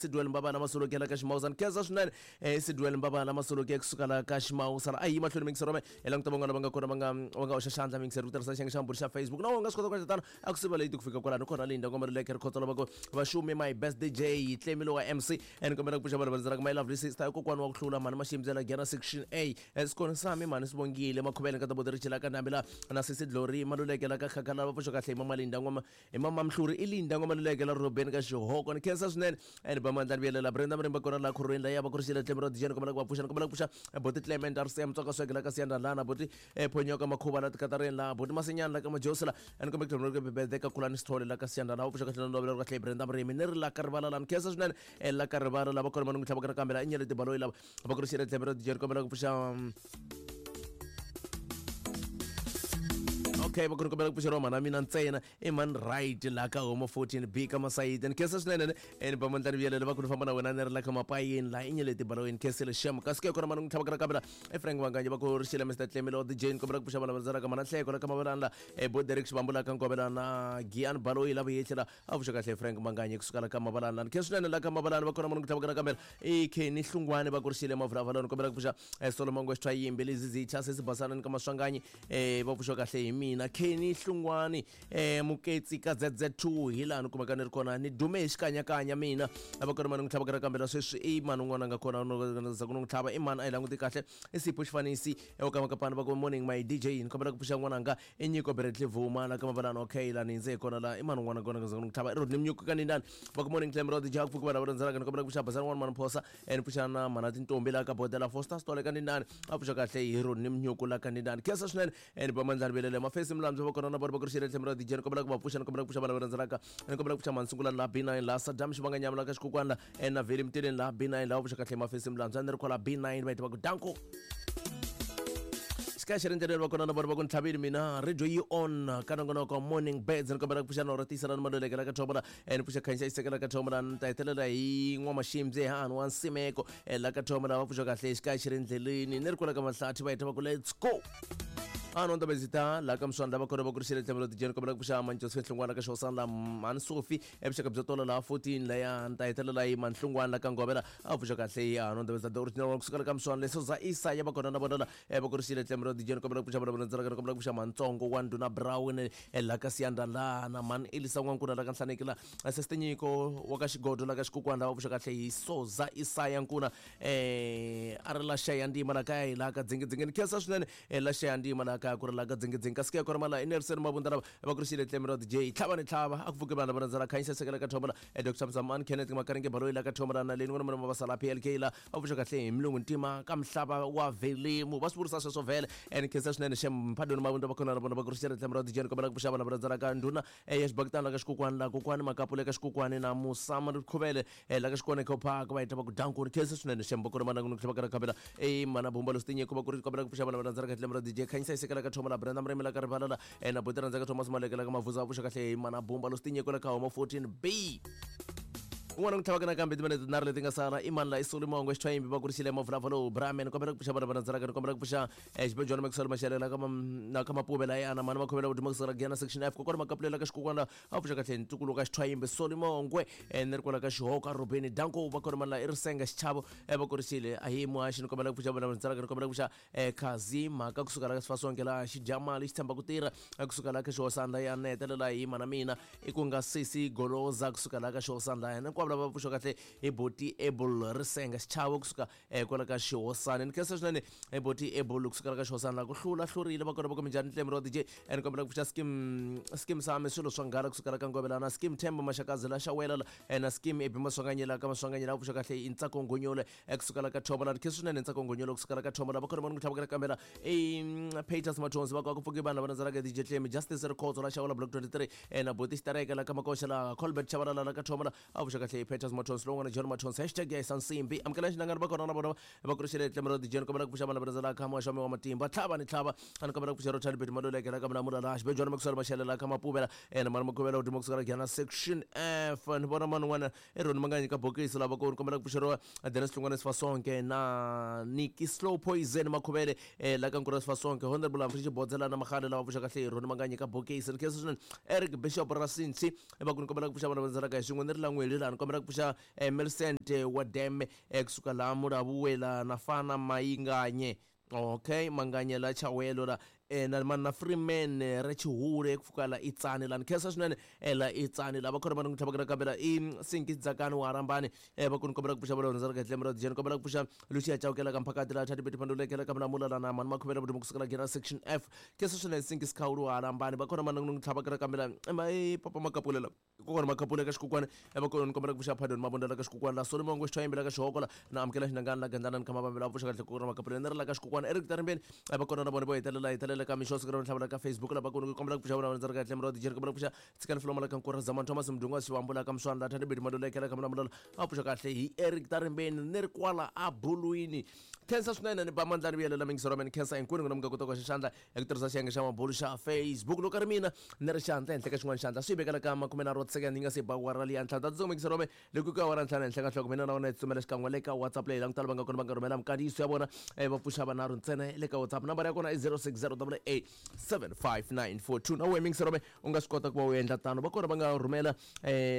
Sidwell Mbabala Masoloke la ka Ximawusana. Khensa swinene Sidwell Mbabala Masoloke kusuka la ka Ximawusana. A hi mahlweni mingisero me hi languta van'wana va nga kona va nga hoxa xandla mingisero ku tirhisa xiyenge xa mbhuri xa Facebook. Na wena u nga swi kota ku endla tano a ku siva late ku fika kwalano kona Linda Ngoma Luleke Rikhotso lava ku vaxumi my best DJ Tlemi lowa MC and kombela ku pfuxa vanhu va rhandzaka my lovely sister kokwana wa ku hlula mhani Maximbyela Gena section A Sikoni sami mhani Sibongile Makhuvele nkata boti Richila ka Ndhambi la na sesi Glory Maluleke la ka Khakhala va pfuxa kahle hi mama Linda Ngoma Hi mama Mhluri i Linda N'wamaluleke la Rhobeni ka Xihoko. Ni khensa swinene and ba mandla ni vuyelela Brenda Marimba kona la khorweni la ya va kurixile tlhelo ra dijeni kombela ku va pfuxa ni kombela ku pfuxa boti Clement RCM Tsonga Swege la ka Siyanda lana boti Phonyoka Makhuva la Tikatareni la boti Masinyana la ka Majosi la ni kombela ku tlhela ku Bebede ka Khulani Sithole la ka Siyanda la va pfuxa kahle na lovela kahle Brenda Murimi ni ri la ka rivala la ni khensa swinene la ka rivala la va kona va ni tlhava ka kambe la i Nyeleti Baloyi lava va kurixile tlhelo ra dijeni kombela ku pfuxa okay va ku kombela ku pfuxeriwa mhana mina ntsena i mani right laha ka homo 14 b ka masayiti ni khensa swinene ni ba mandla ni vuyelele va ku ni famba na wena ni ri la ka mapayeni laha i nyeleti balowini khensile xem kasi ke kona mani n'wi tlhavaka nakambe la i frank vanganye va ku ri xile mr tlemilo the jane kombela ku pfuxa vana va ka mana nhleko la ka mavelana la e bo derek xivambu la ka nkovela na gian baloyi la vuyehli la a pfuxa kahle frank manganye kusuka la ka mavalani la ni khensa swinene la ka mavalani va kona mani n'wi tlhavaka nakambe i kenny hlungwani va ku ri xile mavulavulani kombela ku pfuxa solomon ngwexithwa yimbi lezizitha sesibasana ni ka maswanganyi va pfuxa kahle hi mina kenny hlungwani muketsi ka zz2 hi laha ni kumeka ni ri kona ni dume hi xikanyakanya mina va kona mani n'wi tlhava ka kambela sweswi i mani un'wana a nga kona za ku n'wi tlhava i mani a hi languti kahle i sipho xifanisi eka makapani va ku morning my dj ni kombela ku pfuxa n'wananga i nyiko Bradley Vuma la ka mavalani okay la ni ndze hi kona la i mani un'wana kona ku n'wi tlhava i Rodney Mnyuku ka nindani va ku morning Clem Rod Jack pfuki vanhu va rhandzelaka ni kombela ku pfuxa basani n'wana mani phosa ni pfuxa na mhana tintombi la ka bodela Foster Stole ka nindani a pfuxa kahle hi Rodney Mnyuku la ka nindani khensa swinene ni ba mandlani velele mafesi milamdzo va kona na vona va ku ri xile Clem Rod DJ ni kombela ku va pfuxa ni kombela ku pfuxa vanhu va rhandzelaka ni kombela ku pfuxa mansungula la B9 la Saddam Xivanganyama la ka xikukwana la na Veli Mtileni la B9 la va pfuxa kahle mafesi milamdzo a ni ri kwala B9 va heta va ku danko xikaya xi ri ndleleni va kona na vona va ku ni tlhavile mina radio yi on ka nongonoko morning birds ni kombela ku pfuxa norha tiyisela ni maluleke la ka thomola ni pfuxa khanyisa xiseke la ka thomola ni ta hetelela hi n'wamaximbye hahani wa nsimeko la ka thomola va pfuxa kahle xikaya xi ri ndleleni ni ri kwala ka mahlathi va heta va ku let's go ano ndabezita la ka mswandla va kona va ku ri xile tlhelo tijeni kombela ku pfuxa manjosfe nhlungwana ka xihosana la mhani sofi evuxaka byo tola laha 14 laya ni ta hetelela hi manhlungwana la ka ngovela a pfuxa kahle hi ano ndabezita the original one kusuka la ka mswandla leso za isaya va kona na vona la va ku ri xile tlhelo tijeni kombela ku pfuxa vona vona kombela ku pfuxa mantsongo wa ndhuna brown la ka siyanda la na mhani elisa n'wankuna la ka nhlaneki la seste nyiko wa ka xigodo la ka xikukwana la va pfuxa kahle hi soza isaya nkuna a ri la xaya ndima la kaya hi laha ka dzingidzingi ni khensa swinene la xaya ndima laha kaya ku ri laha ka dzingidzingi kasi ke kona mala i Nelson Mabunda lava va ku ri xile tlemi ra DJ tlhava ni tlhava a ku pfuke vanhu va rhandzela khanyisa sekela ka thombola Dr Mzamani Kenneth Makaringe Baloyi la ka thombola na leni n'wana mana mavasala PLK la va pfuxa kahle hi mulungu ntima ka mhlava wa velimu va swi vurisa sweswo vhele ni khensa swinene xem Mphadoni Mabunda va kona na vona va ku ri xile tlemi ra DJ ni kombela ku pfuxa vanhu va rhandzela ka ndhuna ya xibakitana la ka xikokwani la kokwani Makapule ka xikokwani na Musama Khuvele la ka xikone ko park va heta va ku danko ni khensa swinene xem va kona mana ku tlhela ka khabela e mana bumba lo stinye ku va ku ri kombela ku pfuxa vana va rhandza ka tlhelo ra DJ khanyisa isekela ka thoma la Brenda Mremi la ka rivala la na buti rhandza ka Thomas Maleke la ka Mavuza va pfuxa kahle mana bumba lo stinye ku la ka homa 14B un'wana ku tlhavaka nakambe timinete tinharhu leti nga sala i mani la i soli mongo xithwayimbi va kurisile mavulavula lowu bramen kombela ku pfuxa vana va rhandzaka ni kombela ku pfuxa xibejwana maxwell maxele la ka na ka mapuve la yana mani makhomela vudimo kusukela giyana section F kokwana makapulela ka xikokwana a pfuxa kahle ntukulu ka xithwayimbi soli mongwe ni ri kwala ka xihoka rubeni danko va kona mani la i risenga xichavo va kurisile a hi muhaxi ni kombela ku pfuxa vana va rhandzaka ni kombela ku pfuxa khazi mhaka kusuka la ka sifasonke laha xi dya mali xi tshemba ku tirha kusuka la ka xihosana ya ni hetelela hi mana mina i ku nga sesi goloza kusuka la ka xihosana ya hinkwavo lava pfuxa kahle hi boti able risenga xichavo kusuka kwala ka xihosana ni khensa swinene hi boti able kusuka la ka xihosana la ku hlula hlurile va kona va minjhani tlemi ro dj ni kombela ku pfuxa skim skim sami swilo swa nghala kusuka la ka ngovela na skim themba maxakazi la xawela na skim ebi maswanganyela ka maswanganyela va pfuxa kahle i ntsako ngonyole kusuka la ka thomo la ni khensa swinene ntsako ngonyole kusuka la ka thomo la va kona va ni ku tlhavaka kambela i Peters Mathonsi va ku pfuki vanhu lava rhandzelaka DJ Tlemi Justice Rikhotso la xawula block 23 na Boti Xitareke la ka Makoxa la Colbert Chabalala la ka thomo la a vuxa kahle Peters Mathonsi lowun'wana John Mathonsi hashtag ya Sansimbi amukela xinangani va kona na vona va kurixele Tlemi ra DJ ni kombela ku pfuxa vanhu lava rhandzelaka muhaxami wa matimba tlhava ni tlhava a ni kombela ku pfuxa Rochard Beti Maluleke la ka Mulamula la Xibejwana Maxwell Mashele la ka Mapuvela na Mani Makhuvela Udimo kusuka la Gyana section F ni vona mani un'wana i Roni Manganyi ka bokisi lava ku ni kombela ku pfuxeriwa Dennis Hlungwane Sifasonke na Niki Slow Poison Makhuvele la ka Nkura Sifasonke Honorable Humphrey Xibodzela na Magale lava pfuxa kahle hi Roni Manganyi ka bokisi ni khensa swinene Eric Bishop Rasinsi va ku ni kombela ku pfuxa vana va ndzelaka hi swin'we ni ri lan'weli laha ni Ni kombela ku pfuxa Millicent wa Deme kusuka laha Mulavuwela na Fana Mayinganye. Okay, Manganye la Chawelo la na na Freeman ra Chihure kufuka la Itsani la. Ni khensa swinene la Itsani la va khona va ni tlhavaka nakambe i Sinki Dzakani wa Rambani va ku ni kombela ku pfuxa va ra kahle ra Jeni, kombela ku pfuxa Lucia Chawukela ka Mphakati la Thati Beti Pandulekela ka Mlamula la na Mani Makhuvela Vudumo kusukela General Section F. Khensa swinene Sinki Sikhawulu wa Rambani va khona va ni tlhavaka nakambe la i Papa Makapulela kokwana Makhapula ka Xikukwana va kona ni kombela ku pfuxa Pardon Mabunda la ka Xikukwana la Solomon Ngwe la ka Xihokola na Amukela Xinangana la Gandlana ni Khama Vambela pfuxa kahle kokwana Makhapula ni ri la ka Xikukwana Eric Tarimbeni va kona na vona vo hetelela hetelela ka mixo siku ra ntlhavela ka Facebook la va kona ku kombela ku pfuxa vona ndzi ri kahle murodi Jeri, kombela ku pfuxa Tsikani Floma la ka Nkura Zaman Thomas Mdunga Xivambu la ka Mswana la Thandi Beti Madulekela ka Mlamulala a pfuxa kahle hi Eric Tarimbeni ni ri kwala a Bulwini. Khensa swinene ni ba mandlani vuyelela mingisero wa mina, khensa hinkwenu n'wina mi nga kota ku xandla hi ku tirhisa xiyenge xa mabulu xa Facebook. Loko ri mina ni ri xandla henhla ka xin'wana xandla swi vekela ka 30 wa tisecond yi nga se ba awara liya ntlhanu ta tsongo mingisero wa mina loko ku awara ntlhanu henhla ka nhloko mina na wena hi tsutsumela xikan'we le ka WhatsApp leyi langutala va nga kona va nga rhumela minkandziyiso ya vona va pfuxa vanharhu ntsena le ka WhatsApp. Nambara ya kona i 060 8875942. Na wehe mingisero wa mina u nga swi kota ku va u endla tano. Va kona va nga rhumela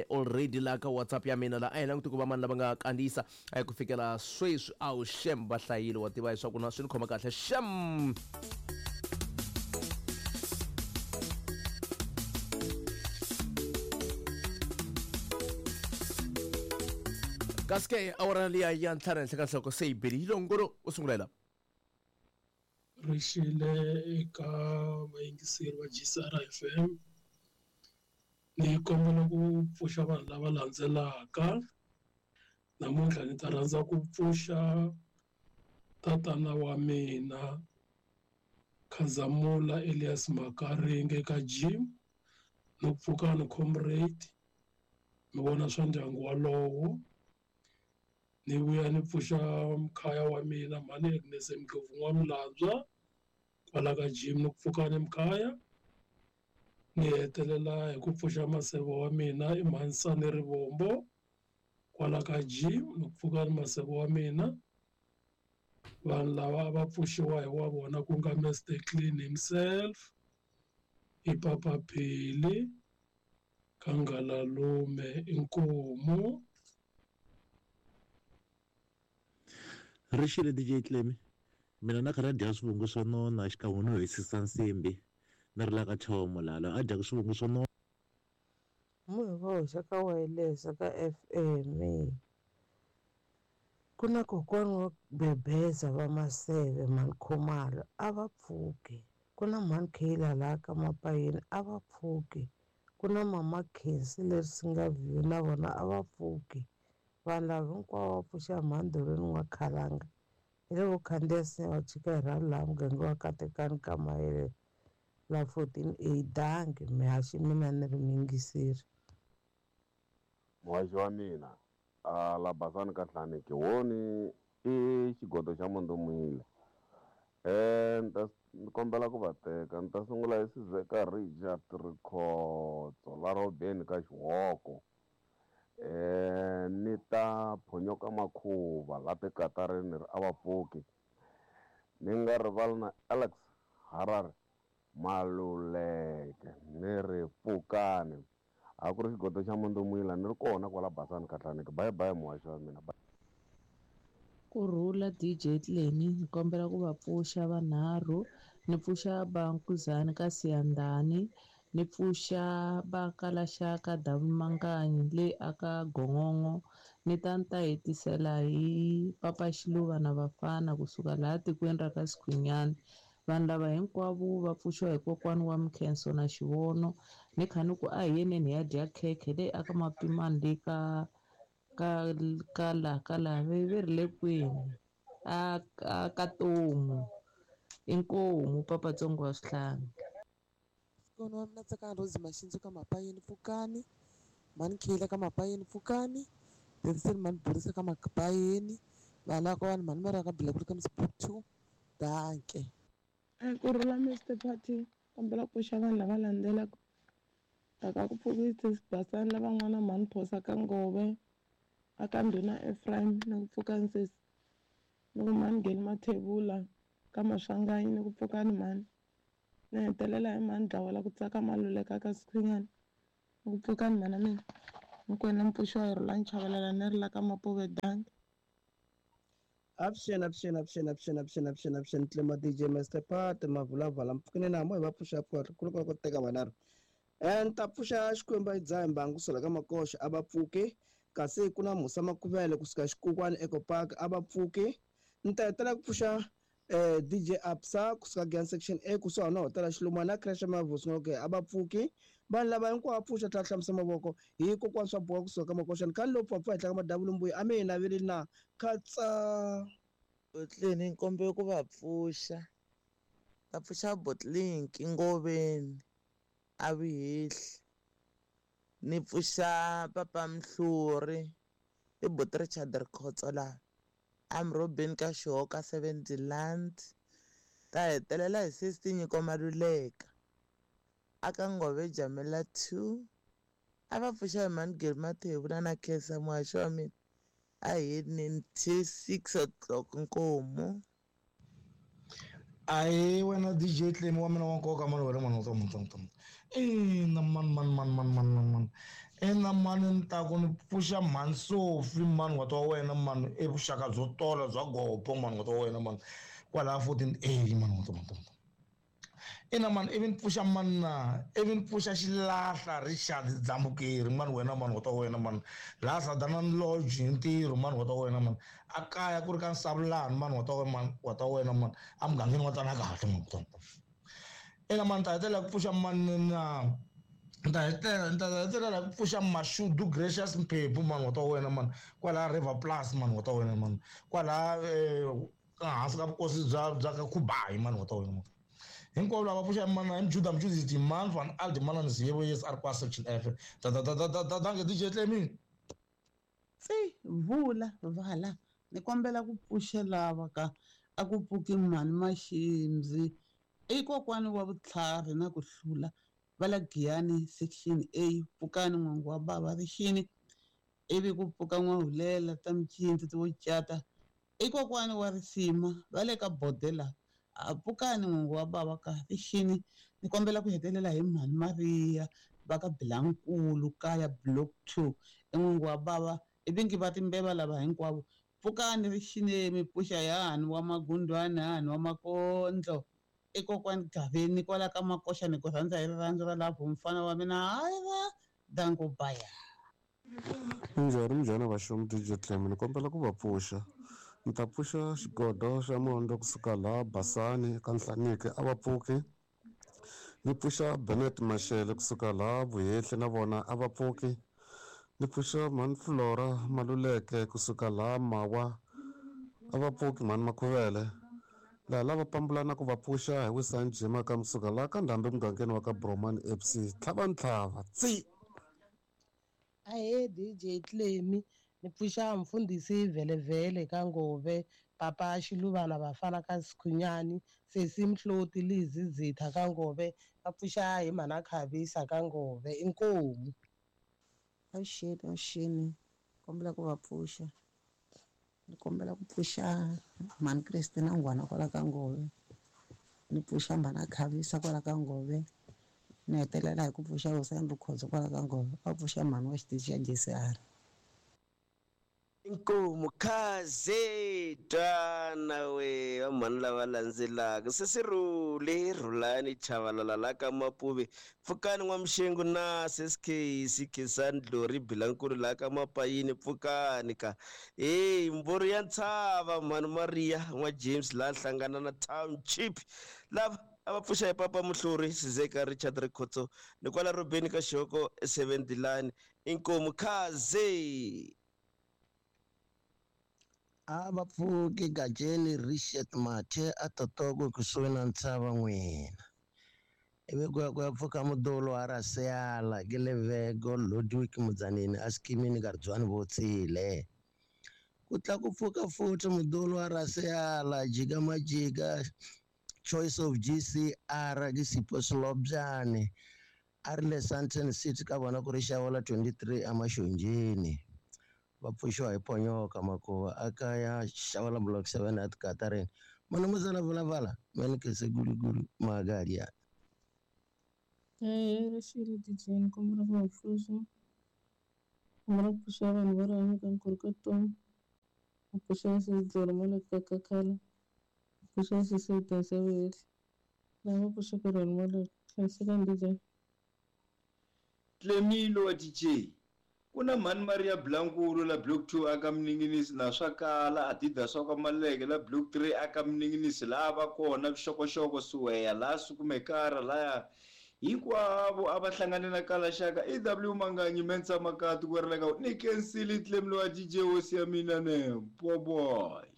already la ka WhatsApp ya mina la. A hi languti ku va mani lava nga kandziyisa ku fikela sweswi. A wu shem, va hlayile, wa tiva leswaku na swi ni khoma kahle shem. Kasi ke awara liya ya ntlhanu henhla ka nhloko se yi bile yi longolo u sungula hi la. Rixile eka vayingiseri va GCR FM. Ni kombela ku pfuxa vanhu lava landzelaka. Namuntlha ni ta rhandza ku pfuxa tatana wa mina Khazamula Elias Makaringe ka gym, no pfuka ni comrade mi vona swa ndyangu walowo. Ni vuya ni pfuxa mkhaya wa mina mhani Agnes Mdlovu N'wamilandzwa kwala ka gym, ni ku pfuka ni mkhaya. Ni hetelela hi ku pfuxa maseve wa mina i Mhansani Rivombo kwala ka gym, ni ku pfuka ni maseve wa mina. Vanhu lava va pfuxiwa hi wa vona ku nga Mr Clean himself i Papa Phili ka Ngalalume. Inkomu. Rixile DJ Clemi, mina na kha na dya swivungu swo nona xikan'we no hisisa nsimbi ni ri la ka Chomo laha a dyaka swivungu swo nona. Munhu va hoxa ka wireless ka FM ku na kokwana wa Bebeza va Maseve mhani Khumalo a va pfuki, ku na mhani Kayla laha ka Mapayeni a va pfuki, ku na mama Khensi leri Singaview na vona a va pfuki. Vanhu lava hinkwavo va pfuxa mhani Doreen N'wakhalanga hi le vo khandziya sinya va chika hi rhalo laha muganga wa Katekani ka Mayele la 14 A. Dangi mihaxi mina ni ri muyingiseri. Muhaxi wa mina a la Basani ka Hlaneki woni i xigodo xa Mundomile. Ni ta ni kombela ku va teka, ni ta sungula hi Sizeka Richard Rikhotso la Robeni ka Xihoko, ni ta phonyoka Makhuva la tikatarini ri a va pfuki, ni nga rivali na Alex Harare Maluleke ni ri pfukani. A ku ri xigodo xa Mundomila ni ri kona kwala Basani ka Hlaneki. Bye bye muhaxi wa mina. Kurhula DJ Clemi, ni kombela ku va pfuxa vanharhu. Ni pfuxa Bankuzani ka Siyandhani, ni pfuxa va Kalaxaka Davumanganyi le aka Gongongo, ni ta ni ta hetisela hi Papa Xiluva na vafana kusuka laha tikweni ra ka Sikhunyani. Vanhu lava hinkwavo va pfuxiwa hi kokwana wa Mkhenso na Xivono. Ni kha ni ku a hi yeneni hi ya dya khekhe leyi aka Mapimani le ka ka ka la ka la ve ri le kwini a a ka Tomu. Inkomu Papatsongo wa Swihlangi. Kona wa mina Tsakani Rose Maxindzu ka Mapayeni pfukani, mhani Khela ka Mapayeni pfukani, Denzel mhani Borisa ka Mapayeni, vanhu lava vanhu mhani Mara ka Bilakulu ka Msiphutu. Danke. Kurhula Mr Party, kombela ku pfuxa vanhu lava landzelaka. Taka ku pfukisa Basani lavan'wana mhani Phosa ka Ngove aka Ndhuna Ephraim ni ku pfuka nsesi, ni ku mhani Geli Mathebula ka Maswanganyi ni ku pfukani mhani. Ni hetelela hi mhani Dlawela ku tsaka Maluleka ka Sikhunyana ni ku pfukani mhana mina. Mokwena mpfuxo wa Rhulani Chavalala ni ri la ka Mapuve danki. Avuxeni, avuxeni, avuxeni, avuxeni, avuxeni, avuxeni, avuxeni, Tlema DJ Master Pat, Mavulavala, mpfukeni na mo hi va pfuxa pfuka ku loko ku teka vanharhu. Ni ta pfuxa Xikwembu a yi dzaha mbangu kusela ka makoxa a va pfuki, kasi ku na Musa Makuvele kusuka Xikukwani Eco Park a va pfuki. Ni ta hetelela ku pfuxa DJ Absa kusuka Giyani Section A kusuhani na hotela Xilumani na Crash Mavhusi okay a va pfuki. Vanhu lava hinkwavo va pfuxa tlhela hlamusa mavoko hi kokwana swa boha kusuka ka makoxa ni khani lowu pfapfa henhla ka madavula mbuya a mi hi naveleli na khatsa. Botleni nkombe ku va pfuxa, va pfuxa Botlink Ngoveni a Vihehli, ni pfuxa Papa Mhluri i Bot Richard Rikhotso laha Amrobeni ka Xihoka 70 Land, ta hetelela hi sesi Nyiko Maluleka aka Ngove Jamela 2, a va pfuxa hi Mhani Geri Mathebula na Khensa muhaxi wa mina a hi till 6 o'clock nkomu. Ayi wena DJ Tlemi wa mina wa nkoka mani wena mani wa mani ina mani mani mani mani mani mani mani ina mani ni ta ku ni pfuxa mhani Sofi mani wa wa wena mani i vuxaka byo tola bya gopo mani wa wena mani kwalaha 14A mani wa mani ina mani ivi ni pfuxa mani na ivi ni pfuxa Xilahla Richard Dzambukeri mani wena mani wa wena mani laha Sadanani Lodge hi ntirho mani wa wena mani a kaya ku ri ka Nsavulani mani wa mani wa wena mani a mugangeni wa tana kahle mani wa ina mani ta hetelela ku pfuxa mani na ta hetelela ku pfuxa Mashudu Gracious Mphephu mani wa wena mani kwalaha River Plus mani wa wena mani kwalaha hansi ka vukosi bya ka Khubayi mani wa wena mani hinkwavo lava pfuxa mana hi Mjuda Mjudisi man van Aldi mana ni Ziyebo yes a ri kwa section F da da da da da dange DJ Tlemi. Tsi vula vala ni kombela ku pfuxa lava ka a ku pfuki mhani Maximzi i kokwani wa vutlhari na ku hlula va la Giyani section A pfukani n'wangu wa bava rixini ivi ku pfuka n'wahulela ta micindzi ti vo cata i kokwani wa risima va le ka bodela a pfukani n'wangu wa bava ka rixini ni kombela ku hetelela hi Mhani Maria va ka Bilankulu kaya block 2 i n'wangu wa bava ivi ngi va timbeva lava hinkwavo pfukani rixini mi pfuxa yani wa magundwani yani wa makondlo i kokwani Gaveni kwala ka makoxa ni ku rhandza hi rirhandzu ra lapho mfana wa mina hayi va danko baya. Minjhani minjhani vaxomi DJ Tlemi ni kombela ku va pfuxa ni ta pfuxa xigodo xa mondo kusuka laha Basani ka Nhlaniki a va pfuki, ni pfuxa Benet Mashele kusuka laha Vuhehli na vona a va pfuki, ni pfuxa Mhani Flora Maluleke kusuka laha Mawa a va pfuki Mhani Makhuvele laha lava pambulana ku va pfuxa hi Wisani Jima ka musuka laha ka Ndhambi mugangeni wa ka Bromani FC tlhava ntlhava tsi. Ahee DJ Tlemi ni pfuxa mfundhisi Vhelevhele ka Ngove, papa Xiluvana vafana ka Sikhunyani, sesi Mhloti Lizi Zitha ka Ngove, va pfuxa hi mhana Khavisa ka Ngove inkomu. Avuxeni, avuxeni, kombela ku va pfuxa ni kombela ku pfuxa mhani Christina Ngwana kwala ka Ngove, ni pfuxa mhana Khavisa kwala ka Ngove, ni hetelela hi ku pfuxa Hosani Rikhotso kwala ka Ngove, va pfuxa mhani wa xitichi xa JCR. Inkomu khaze twana we vamhani lava landzelaka sesi Rhule Rhulani Chavalala la ka Mapuve pfukani N'wamuxengu na sesi Casey Khensani Dlori Bilankulu la ka Mapayini pfukani ka hey mboro ya ntshava mhani Maria n'wa James la hlangana na Township lava a va pfuxa hi Papa Muhluri Sizeka Richard Rikhotso ni kwala Robeni ka Xihoko 7 line inkomu khaze. A va pfuki Gajeni Richard Mathe a Totoko kusuhi na ntshava n'wina ivi ku ya ku ya pfuka mudolo wa Raseyala ke Levego Ludwig Mudzanini a Sikimini Karidzwani Votsile ku tla ku pfuka futhi mudolo wa Raseyala jika majika Choice of GCR ke Sipho Selobyane a ri le Sandton City ka vona ku ri Xavola 23 eMaxonjeni va pfuxiwa hi Ponyoka Makuva a kaya Xavola block 7 at Katarini manamuzala vulavala manikese gulugulu magalia. Rixile DJ ni kombela ku va pfuxa. Kombela ku pfuxa vanhu va rihanyo ka nkorokotoni. Ku pfuxa sesi Maleka ka Kakhala. Ku pfuxa sesi Dasi ya Vuhehli. Lava pfuxaka Rhani Maleka. Hlayisekani DJ. Tlemilo wa DJ ku na mhani Maria Blankulu la block 2 aka Mninginisi na swa kala Adidas wa ka Maleke la block 3 aka Mninginisi laha va kona vuxokoxoko Siweya laha Sukumekara laya hinkwavo a va hlangane na Kalaxaka EW Manganyi Mensa Makati ku ri ka ni kensile Tlemilo wa DJ hosi ya mina ne boboy.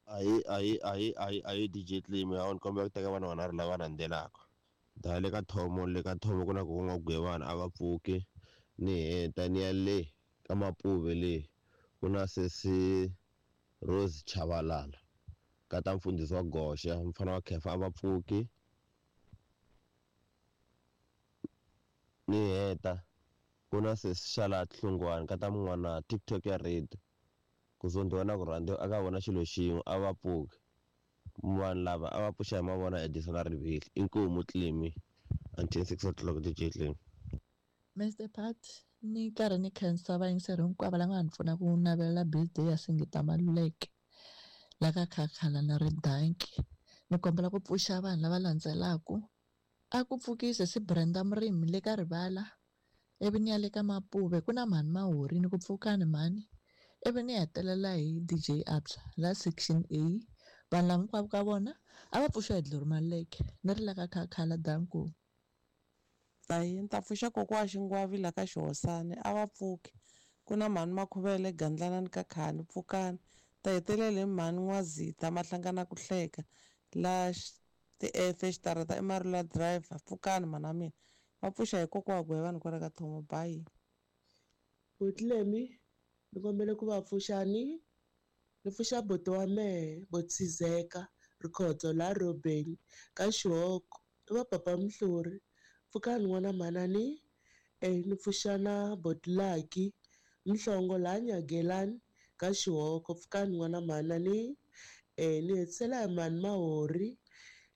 Ayi ayi ayi ayi ayi DJ Tlimi a ni kombela ku teka vanhu vanharhu lava landzelaka. Da le ka thomo le ka thomo ku na ku n'wa gwevana a va pfuki ni heta ni ya le ka Mapuve le ku na sesi Rose Chabalala ka ta mfundhisi wa Goxa mfana wa Khefa a va pfuki ni heta ku na sesi Xalat Hlungwani ka ta mun'wana TikTok ya radio ku zondhiwa na ku rhandziwa aka vona xilo xin'we a va pfuki vanhu lava a va pfuxa hi mavona Edison na Rivili inkomu Tlimi until 6 o'clock DJ Tlimi. Mr Pat ni karhi ni khensa vayingiseri hinkwavo lava nga ni pfuna ku navelela birthday ya Singita Maluleke la ka Khakhala na ri danki. Ni kombela ku pfuxa vanhu lava landzelaku. A ku pfukise si Brenda Murimi le ka Rivala ivi ni ya le ka Mapuve ku na mhani Mahori ni ku pfukani mhani ivi ni hetelela hi DJ Absa la section A. Vanhu lava hinkwavo ka vona a va pfuxiwa hi Glory Maluleke ni ri la ka Khakhala danko. Ayi ni ta pfuxa kokwa wa Xingwavi la ka Xihosani a va pfuki ku na mhani Makhuvele Gandlanani ka Khani pfukani ta hetelela hi mhani N'wazita Mahlangana ku hleka la ti-F xitarata i Marula driver pfukani mhana mina va pfuxa hi kokwa wa Gwevani kwala ka Thomo bye. Butlemi ni kombela ku va pfuxani ni pfuxa buti wa mehe Botsizeka Rikhotso la Robeni ka Xihoko i va papa Mhluri pfukani n'wana manani ni pfuxa na Botlaki Mhlongo la Nyagelani ka Xihoko pfukani n'wana manani ni hetisela hi mhani Mahori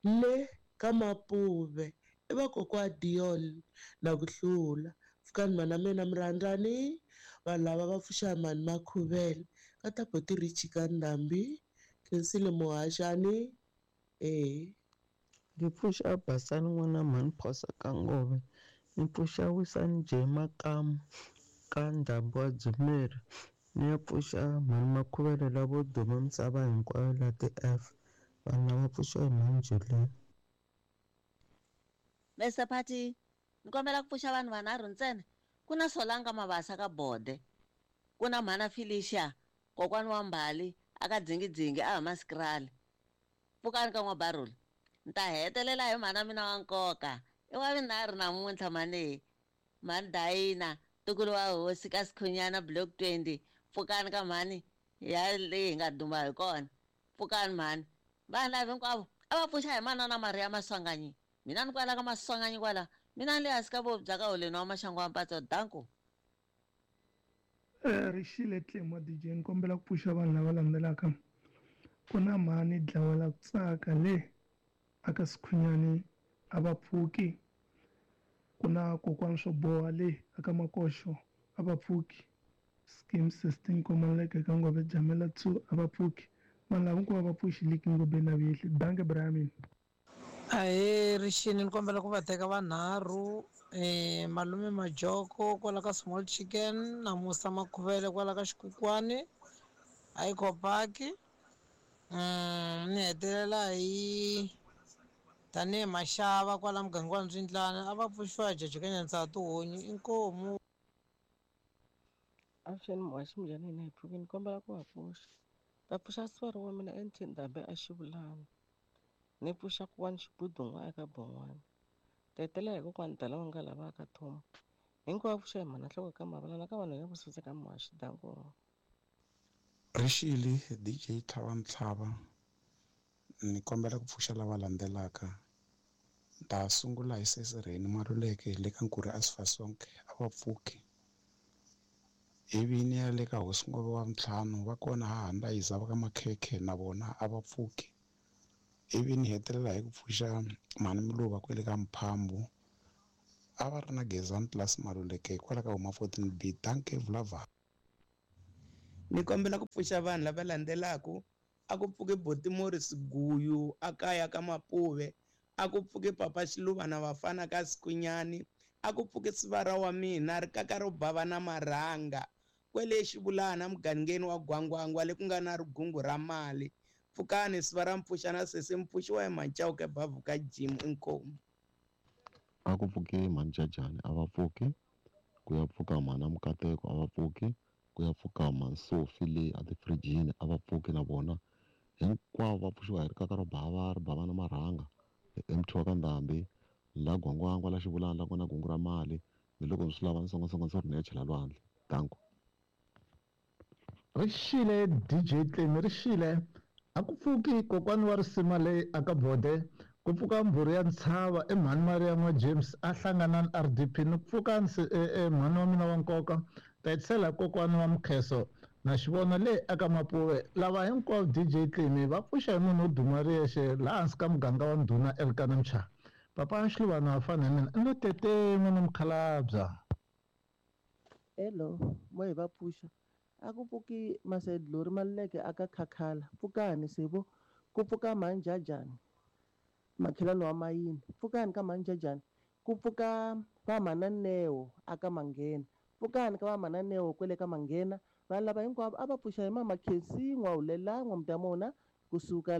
le ka Mapuve i va kokwa Dion na ku hlula pfukani mhana mina mi rhandzani vanhu lava va pfuxa hi mhani Makhuvele ka ta boti Richie ka Ndhambi Khensile Muhaxani Ni pfuxa Basani n'wana mhani Phosa ka Ngove ni pfuxa Wisani J Makamu ka Ndhambi wa Dzumeri ni ya pfuxa mhani Makhuvele lavo duma misava hinkwayo la ti-F vanhu lava pfuxa hi mhani Julian. Mr Party ni kombela ku pfuxa vanhu vanharhu ntsena ku na Solanga Mabasa ka Bode ku na mhana Felicia kokwani wa Mbali aka Dzingidzingi a huma Skrali pfukani ka N'wabaruli ni ta hetelela hi mhana mina wa nkoka i wa vinharhu namuntlha mhani mhani Dayina ntukulu wa hosi ka Sikhunyana block 20 pfukani ka mhani ya leyi hi nga duma hi kona pfukani mhani vanhu lava hinkwavo a va pfuxa hi manana Maria Maswanganyi mina ni kwala ka Maswanganyi kwala mina ni le hansi ka vobya ka holeni wa maxangu wa mpatso danko. Rixile Tlemi wa DJ ni kombela ku pfuxa vanhu lava landzelaka ku na mhani Dlawela ku tsaka le aka Sikhunyani a va pfuki ku na kokwani swo boha le aka Makoxo a va pfuki scheme 16 Komaleke ka Ngove Jamela 2 a va pfuki vanhu lava hinkwavo va pfuxi liki Ngobeni na Vihli danke Brian. Ahee Rixini ni kombela ku va teka vanharhu malume Majoko kwala ka Small Chicken na Musa Makhuvele kwala ka Xikukwani Aikopaki ni hetelela hi tanihi Maxava kwala muganga wa Ndzwindlana a va pfuxiwa Jaji ka Nyanza tihunyi inkomu. Avuxeni muhaxi minjhani hina hi pfukini kombela ku va pfuxa va pfuxa sivara wa mina NT Ndhambi a Xivulana ni pfuxa kuwani Xibudun'wa eka Bon'wana ta hetelela hi kokwani Dala wa nga lava ka Thomo hinkwavo pfuxa hi mhana nhloko ka Mavala na ka vanhu ya vusutsa ka muhaxi danko. Rixile DJ Tlhava Ntlhava ni kombela ku pfuxa lava landzelaka ta sungula hi sesi Rheni Maluleke le ka Nkuri Asifasonke a va pfuki ivi ni ya le ka hosi Ngove wa ntlhanu va kona hahani yiza va ka Makhekhe na vona a va pfuki ivi ni hetelela hi ku pfuxa mhani Miluva kwele ka Mphambu A va ri na Gezani plus Maluleke hikwalaho ka huma 14B. Dankie vulavha. Ni kombela ku pfuxa vanhu lava landzelaka. A ku pfuki Boti Morris Guyu a kaya ka Mapuve, a ku pfuki Papa Xiluva na vafana ka Sikwinyani, a ku pfuki sivara wa mina rikaka ro bava na marhanga kwele Xivulana mugangeni wa Gwangwangwa le ku nga na rigungu ra mali. Pfukani sivara mpfuxa na sesi mpfuxiwa hi Macauke bavhu ka Jim inkomu. A ku pfuki mhani Jajani a va pfuki, ku ya pfuka mhana Mukateko a va pfuki, ku ya pfuka mhani Sofi le a tifirijini a va pfuki na vona. Hinkwavo va pfuxiwa hi rikaka ro bava ri bava na marhanga hi MT wa ka Ndhambi la Gwangwangwa la Xivulana la ku nga na gungu ra mali ni loko ni swi lava ni songasonga ndzi ri ni ya chela lwandle. Danko. Ri xile DJ Tlemi ri xile. A ku pfuki kokwani wa risima leyi aka bode, ku pfuka mbhuri ya ntshava i mhani Maria n'wa James a hlangana na RDP ni ku pfuka mhani wa mina wa nkoka ta hetisela kokwani wa Mukheso na xivona leyi aka Mapuve. Lava hinkwavo DJ Tlemi va pfuxa hi munhu wo duma ri yexe laha hansi ka muganga wa ndhuna Elkana Mchaka. Papa Xiluvana wa fana hi mina i lo tete n'wana mukhalabya. Hello, mo hi va pfuxa. A ku pfuki Masedlori Maluleke aka Khakhala. Pfukani Sibo. Ku pfuka Mhanjajani makhelwani wa Mayini. Pfukani ka Mhanjajani. Ku pfuka va Mhananeo aka Manghena. Pfukani ka va Mhananeo kwele ka Manghena. Vanhu lava hinkwavo a va pfuxa hi Mama Khensi N'wahulela N'wamtamona kusuka la.